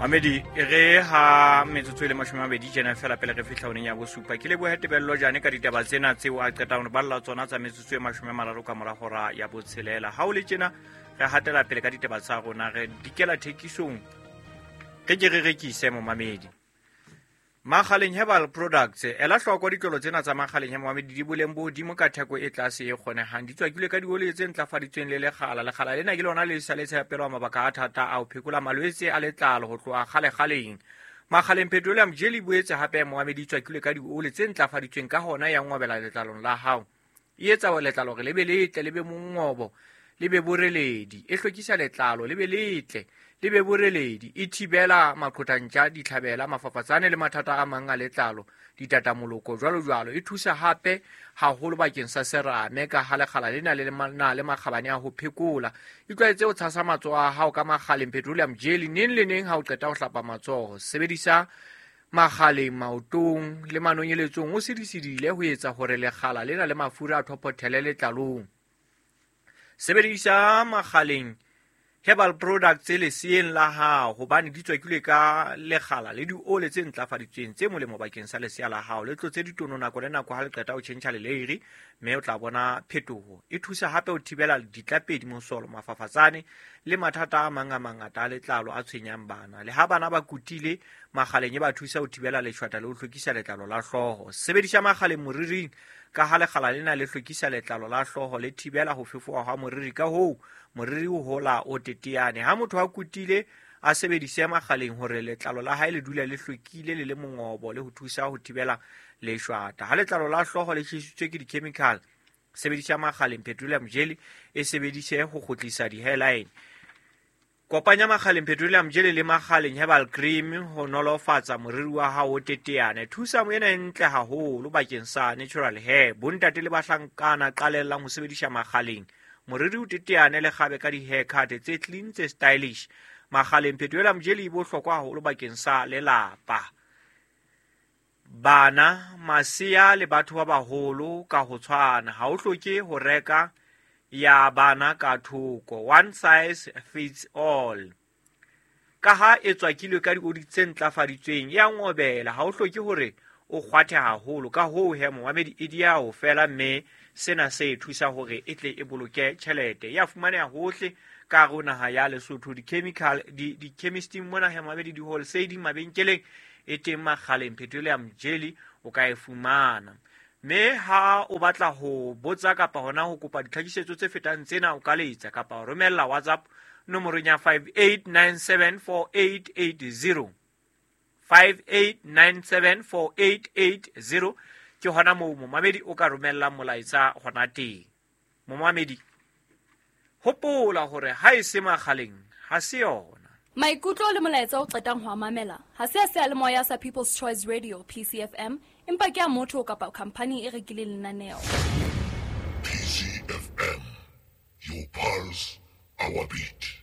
Mamedi, e re ha metsotso e le 20 tjena fela pele re fihla honeng ya bosupa. Ke lebohe Tebello Jane ka ditaba tsena tseo a qetang ho balla tsona tsa metsotso e 30 ka mora hora ya botshelela. Ha o le tjena re hatela pele ka ditaba tsa rona, re dikela thekisong, re ke re rekise momamedi. Makgaleng Herbal Products, ela hloko ditlolo tsena tsa Makgaleng Herbal di boleng bo hodimo ka theko e tlase e kgonehang. Di tswakilwe ka dioli tse ntlafaditsweng le lekgala. Lekgala lena ke lona le sa le tshepelwa mabaka a thata a ho phekola malwetse a letlalo ho tloha kgale-kgaleng. Makgaleng Petroleum Jelly boetse hape momamedi di tswakilwe ka dioli tse ntlafaditsweng, ka hona ya ngobela letlalong la hao. E etsa letlalo hore le be letle, le be mongobo, le be boreledi. E hlwekisa letlalo le be letle, le be boreledi. E thibela maqhothantja, ditlhabela, mafafatsane le mathata a mang a letlalo, ditatamoloko jwalo jwalo. E thusa hape haholo bakeng sa serame ka ha lekgala lena le na le makgabane a ho phekola. Itlwaetse ho tshasa matsoho a hao ka Makgaleng Petroleum Jelly neng le neng ha o qeta ho hlapa matsoho. Sebedisa Makgaleng maotong le manonyeletsong o sedisedile ho etsa hore lekgala lena le mafura a thophothele letlalong. Sebedisa Makgaleng Herbal Products leseeng la hao hobane di tswakilwe ka lekgala le diole tse ntlafaditsweng tse molemo bakeng sa lesea la hao. Le tlotse ditono nako le nako ha le qeta ho tjhentjha leleiri, mme o tla bona phetoho. E thusa hape ho thibela ditlapedi, mosolo, mafafatsane le mathata a mang a mangata a letlalo a tshwenyang bana. Le ha bana ba kutile, Makgaleng e ba thusa ho thibela leshwata le ho hlwekisa letlalo la hlooho. Sebedisa Makgaleng moriring ka ha lekgala lena le hlwekisa letlalo la hlooho, le thibela ho fefoha hwa moriri, ka hoo moriri o hola o teteane. Ha motho a kutile, a sebedise Makgaleng hore letlalo la hae le dule le hlwekile le le mongobo le ho thusa ho thibela leshwata. Ha letlalo la hlooho le tjhesitswe ke di-chemical, sebedisa Makgaleng Petroleum Jelly, e sebedise ho kgutlisa di-hairline. Kopanya Makgaleng Petroleum Jelly le Makgaleng Herbal Cream ho nolofatsa moriri wa hao o teteane. Thusa ena e ntle haholo bakeng sa natural hair. Bontate le bahlankana qalellang ho sebedisa Makgaleng. Moriri o teteane le kgabe ka di-haircut tse clean tse stylish. Makgaleng Petroleum Jelly e bohlokwa haholo bakeng sa lelapa, bana, masea le batho ba baholo ka ho tshwana. Ha o hloke ho reka ya bana ka thoko, one size fits all. Ka ha e tswakilwe ka dioli tse ntlafaditsweng, e a ngobela, ha o hloke hore o kgwathe haholo. Ka hoo he momamedi, e dia ho fela, mme sena se e thusa hore e tle e boloke tjhelete. E a fumaneha hohle ka hare ho naha ya Lesotho, di-chemical di-chemisting mona he momamedi, di-wholesaling mabenkeleng e teng. Makgaleng Petroleum Jelly o ka e fumana. Mme ha o batla ho botsa kapa hona ho kopa ditlhakisetso tse fetang tsena, o ka letsa kapa o romella WhatsApp nomorong ya 58974880, 58974880. Ke hona moo momamedi o ka romellang molaetsa hona teng. Momamedi, hopola hore ha e se Makgaleng ha se yona. Maikutlo le molaetsa o qetang ho a mamela ha se a seyalemoya sa People's Choice Radio, PCFM, empa ke a motho kapa khampani e rekileng lenaneo. PCFM, your pulse, our beat.